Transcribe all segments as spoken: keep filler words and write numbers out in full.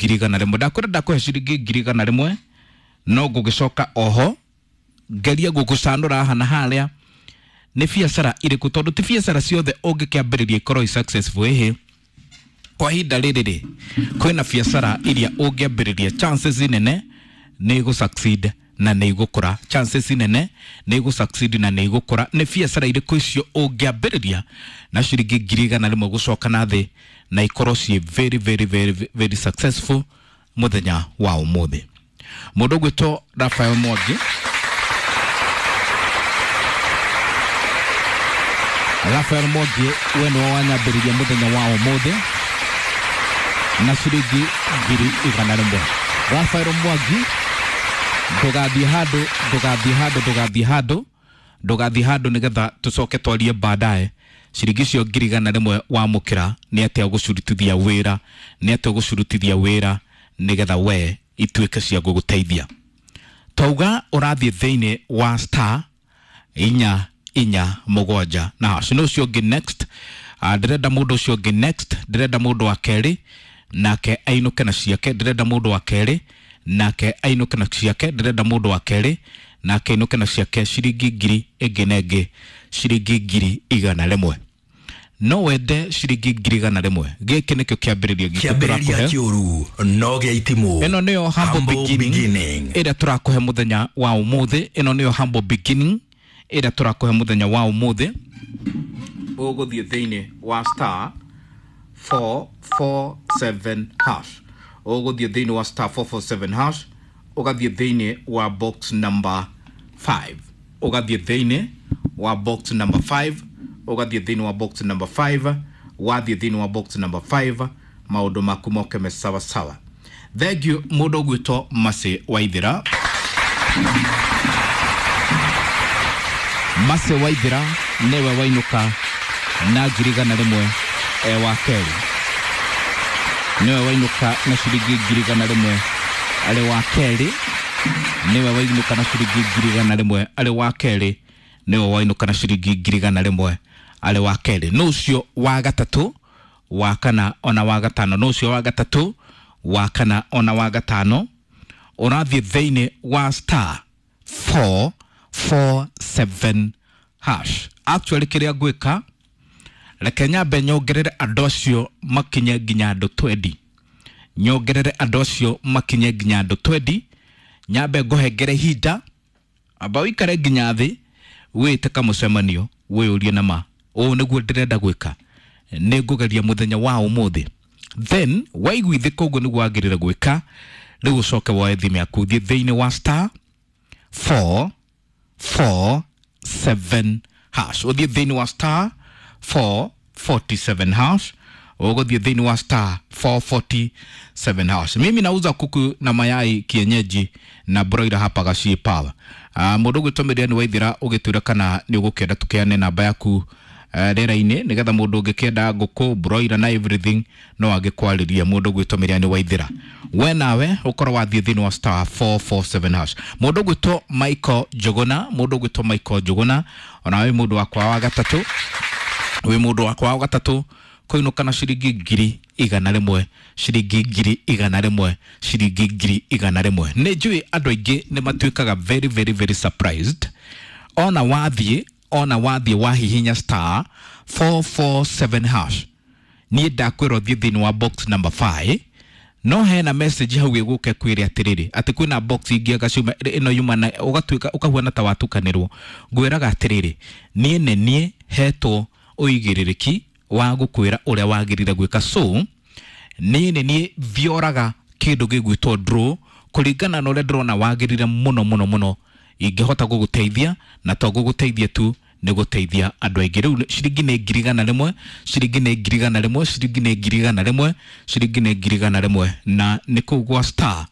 ngiri igana rĩmwe. Ndakwĩra ndakũhe ciringi ngiri igana rĩmwe, no ngũgĩcoka oho ngerie gũgũcanũra haha na harĩa nĩ biacara irĩkũ, tondũ ti biacara ciothe ũngĩkĩambĩrĩria ikorwo i successful. Ĩhĩ, kwa ihinda rĩrĩ rĩ, kwĩna biacara iria ũngĩambĩrĩria chances nene nĩ igũ succeed na nĩ igũkũra, chances nene nĩ igũ succeed na nĩ igũkũra. Nĩ biacara irĩkũ icio ũngĩambĩrĩria na ciringi ngiri igana rĩmwe gũcoka na thĩ na ikorwo ciĩ very very very very successful mũthenya wa ũmũthĩ? Mũndũ ũgwĩtwo Rafael Mwangi, Rafael Mwangi, we nĩwe wanyambĩrĩria mũthenya wa ũmũthĩ na ciringi ngiri igana rĩmwe. Rafael Mwangi, ndũgathiĩ handũ, ndũgathiĩ handũ, ndũgathiĩ handũ, ndũgathiĩ handũ, nĩgetha tũcoke twarie baadaye. Ciringi icio ngiri igana rĩmwe wamũkĩra, nĩ atĩa ũgũcirutithia wĩra, nĩ atĩa ũgũcirutithia wĩra nĩgetha we ituĩke cia gũgũteithia? Twauga ũrathiĩ thĩinĩ wa star inya inya mũgwanja na hash. Nĩ ũcio ũngĩ next. uh, ndĩrenda mũndũ ũcio ũngĩ next, ndĩrenda mũndũ wa kerĩ nake ainũke na ciake, ndĩrenda mũndũ wa kerĩ nake ainũke na ciake, ndĩrenda mũndũ wa kerĩ nake ainũke na ciake, ciringi ngiri ĩngĩ na ĩngĩ, ciringi ngiri igana rĩmwe. No wende ciringi ngiri igana rĩmwe? Gĩkĩ nĩkĩo kĩambĩrĩria gitũ Kĩambĩrĩria tũrakũhe. Kĩũru no gĩa itimũ. Ĩno nĩyo humble Humble beginning beginning. ĩrĩa tũrakũhe mũthenya wa ũmũthĩ. Ĩno nĩyo humble beginning ĩrĩa tũrakũhe mũthenya wa ũmũthĩ. Ũgũthiĩ thĩinĩ wa star four four seven hash, ũgũthiĩ thĩinĩ wa star four four seven hash, ũgathiĩ thĩinĩ wa box number five, ũgathiĩ thĩinĩ wa box number five, ũgathiĩ thĩinĩ wa box number five. Wathiĩ thĩinĩ wa box number five, maũndũ maku moke me sawa sawa. Thank you. Mũndũ ũgwĩtwo Masi Waithĩra, Masi Waithĩra nĩwe wainũka na ngiri igana rĩmwe e wa kerĩ, nĩwe wainũka na ciringi ngiri igana rĩmwe arĩ wa kerĩ, nĩwe wainũka na ciringi ngiri igana rĩmwe arĩ wa kerĩ, nĩwe wainũka na ciringi ngiri igana rĩmwe arĩ wa kerĩ. Nũ ũcio wa gatatũ, wa kana ona wa gatano? Nũ ũcio wa gatatũ, wa kana ona wa gatano? Ũrathiĩ thĩinĩ wa star four four seven hash. Actually, kĩrĩa ngwĩka, reke nyambe nyongerere andũ acio makinye nginya andũ twendi, nyongerere andũ acio makinye nginya andũ twendi, nyambe ngũhengere ihinda, amba ũikare nginya thĩ, wĩte kamũcemanio, wĩyũrie nama ũũ nĩguo ndĩrenda gwĩka, nĩ ngũgeria mũthenya wa ũmũthĩ. Then waiguithĩka ũguo nĩguo wagĩrĩire gwĩka, rĩu ũcoke woe thimũ yaku, thiĩ thĩinĩ wa star four four seven hash, ũthiĩ thĩinĩ wa star four forty-seven hash, ũgũthiĩ thĩinĩ wa star four forty-seven hash. Mimi nauza kuku na mayai kienyeji na broiler hapa Gachie Power. uh, mũndũ ũgwĩtwo Miriam Waithira, ũgĩtwĩra kana nĩ ũgũkĩenda tũkĩane namba yaku uh, rĩera-inĩ, nĩgetha mũndũ ũngĩkĩenda ngũkũ, broiler na everything no angĩkwarĩria. Mũndũ ũgwĩtwo Miriam Waithira, we nawe ũkorwo wathiĩ thĩinĩ wa star four four seven hash. Mũndũ ũgwĩtwo Michael Njuguna, mũndũ ũgwĩtwo Michael Njuguna, onawe mũndũ wakwa wa gatatũ, wĩ mũndũ wakwa wa gatatũ kũinũka na ciringi ngiri igana rĩmwe, ciringi ngiri igana rĩmwe, ciringi ngiri igana rĩmwe. Nĩ njũĩ andũ aingĩ nĩ matuĩkaga very very very surprised ona wathiĩ ona wathiĩ wahihinya star four four seven hash. Niĩ ndakwĩra ũthiĩ thĩinĩ wa box number five, no hena message hau ĩgũke kwĩre atĩrĩrĩ, atĩ kwĩna box ingĩ agaciuma ĩno yuma na ũgatuĩka ũkahuana ta watukanĩrwo. Ngwĩraga atĩrĩrĩ, niĩ nĩ niĩ hetwo ũigĩrĩrĩki wa gũkwĩra ũrĩa wagĩrĩire gwĩka, so niĩ nĩ niĩ thioraga kĩndũ gĩgwĩtwo draw kũringana na ũrĩa ndĩrona wagĩrĩire mũno mũno mũno ingĩhota gũgũteithia, na to gũgũteithia tu, nĩ gũteithia andũ aingĩ. Rĩu ciringi nĩ ngiri igana rĩmwe, ciringi nĩ ngiri igana rĩmwe, ciringi nĩ ngiri igana rĩmwe, ciringi nĩ ngiri igana rĩmwe, na nĩ kũu gwa star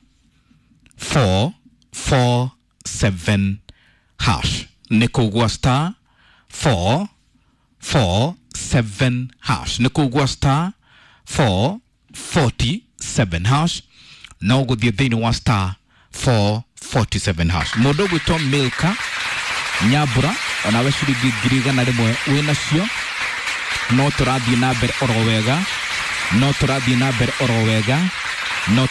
four four seven hash, nĩ kũu gwa star four four seven hash, nĩ kũu gwa star four forty-seven hash, no gũthiĩ thĩinĩ wa star four forty-seven hash. Mũndũ ũgwĩtwo Milka Nyambura, onawe ciringi ngiri igana rĩmwe wĩ nacio. No tũrathiĩ na mbere oro wega, no tũrathiĩ na mbere oro wega, No.